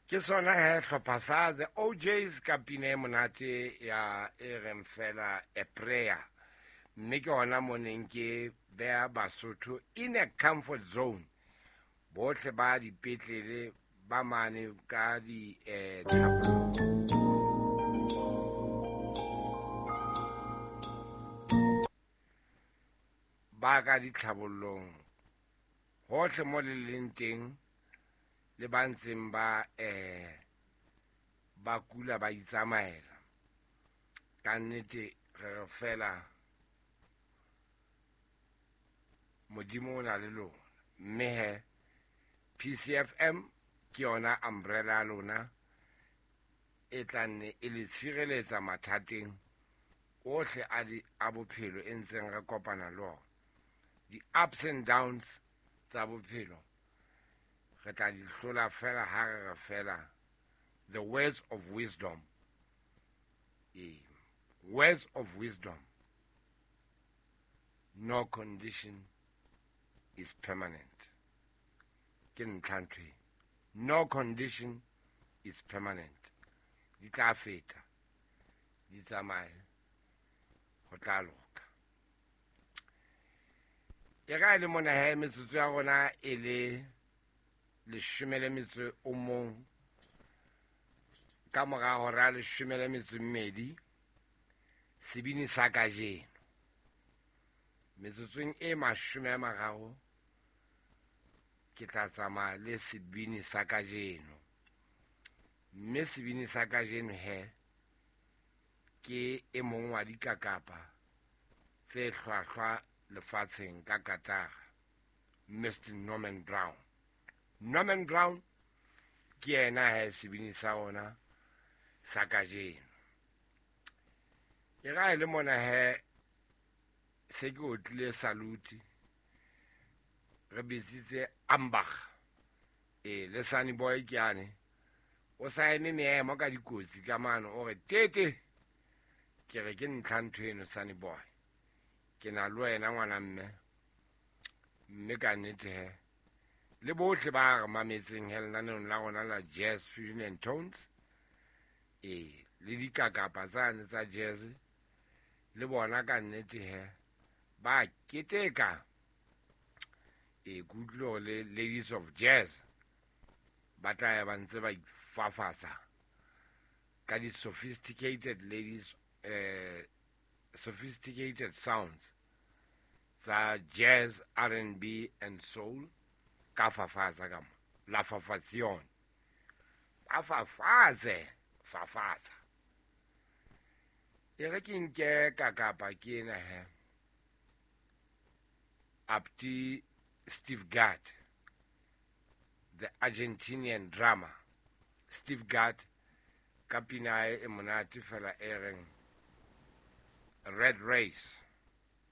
Ke sona he hlopha sa The OJs ka pina e monate ya e reng fela A Prayer. Mme ke hona mo neng ke beha Basotho in a comfort zone. Bohle ba dipetlele ba mane ka di eh, ba ka ditlhabollong hohle mo le leng teng le ba ntseng ba eh ba kula ba itsamaela. Ka nnete re re fela Modimo o na le lona. Mme he PCFM ke yona umbrella ya lona e tla nne e le tshireletsa mathateng ohle a di a bophelo e ntseng re kopana le ona. Di-ups and downs tsa bophelo re tla di hlola fela ha re re fela the words of wisdom. Ee, words of wisdom. No condition is permanent. Ke ntlha ntho e. No condition is permanent. Di tla feta, di tsamaye, ho tla loka. E ka e le mona he metsotso ya rona e le leshome le metso o mong ka mora hora leshome le metso e mmedi sebini sa kajeno. Metsotsong e 30 ke tla tsamaya le sebini sa kajeno. Mme sebini sa kajeno he ke e mong wa dikakapa tse hlwahlwa lefatsheng ka katara, Mr Norman Brown. Norman Brown ke yena he sebini sa rona sa kajeno. E ra e le mona he se ke otlile salute re bitsitse Ambach. E le Sunny Boy ke ane o sa eme meemo ka dikotsi ka mano o re tete ke re ke ntlha ntho eno Sunny Boy ke na le wena ngwana mme mme ka nnete he le bohle ba re mametseng he lenaneong la rona la Jazz Fusion and Tones e le dikakapa tsane tsa jazz le bona ka nnete he ba keteka e ke utlwile hore le Ladies of Jazz ba tla ya ba ntse ba ifafatsa ka di-sophisticated ladies sophisticated sounds tsa jazz, R&B and soul ka fafatsa ka mo la fafatsion ba fafatse fafatsa e re ke nke ka kapa ke ena he Abdi Steve Gadd, the Argentinian drummer. Steve Gadd ka pina e monate fela e reng Red Race.